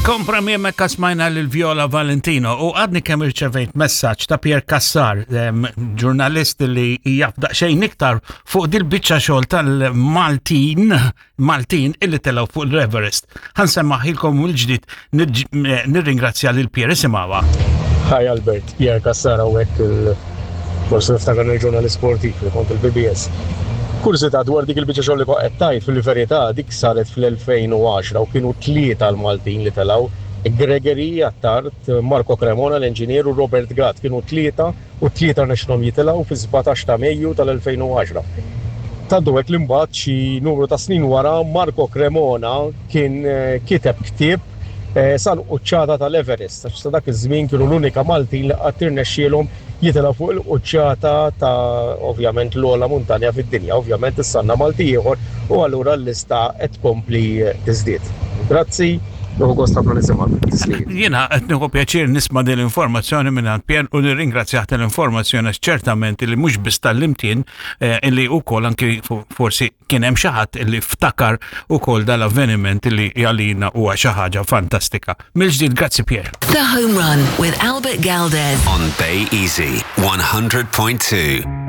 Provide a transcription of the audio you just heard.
Kompra hemmhekk smajna lil Viola Valentino u għadni kemm irċevejt messaġġ ta' Pier Cassar, ġurnalist li jaf daqsxejn iktar fuq dil-biċċa xogħol tal-Maltin Maltin illi telgħu fuq l-Everest. Ħa nsemmahielkom mill-ġdid nirringrazzja lil Pier isimgħuha. Hi Albert, Pier Cassar hawnhekk il forsi niftakar il-ġurnalist sportiv li kont il-PBS. Kurżità dwar dik il-biċċa xogħol li kont qed tgħid fil-verità dik saret fl-2010 u kienu tlieta l-Maltin li telgħu. Gregory Attard, Marco Cremona l-engineer u Robert Gatt kienu tlieta u t-tlieta rnexxilhom jitilgħu fis-17 ta' Mejju tal-2010. Tant hu hekk li mbagħad xi numru ta' snin wara Marco Cremona kien kiteb ktieb sal-quċċata tal-Everest għax sa dak iż-żmien kienu l-unika Maltin li qatt irnexxielhom jitilgħu fuq il-quċċata ta' ovvjament l-ogħla muntanja fid-dinja. Ovvjament issa għandna Malti ieħor u allura l-lista qed tkompli tiżdied. Grazzi. Nieħu gost ħafna nisimgħek. Tislim. Jiena qed nieħu pjaċir nisma' din l-informazzjoni minn Pier u nirringrazzjah tal-informazzjoni għax ċertament li mhux biss tal-imtien eh, illi wkoll anki forsi kien hemm xi ħadd illi ftakar ukoll dal-avveniment illi għalina huwa xi ħaġa fantastika. Mill-ġdid grazzi Pier. The Home Run with Albert Galdes. On Bay Easy 100.2.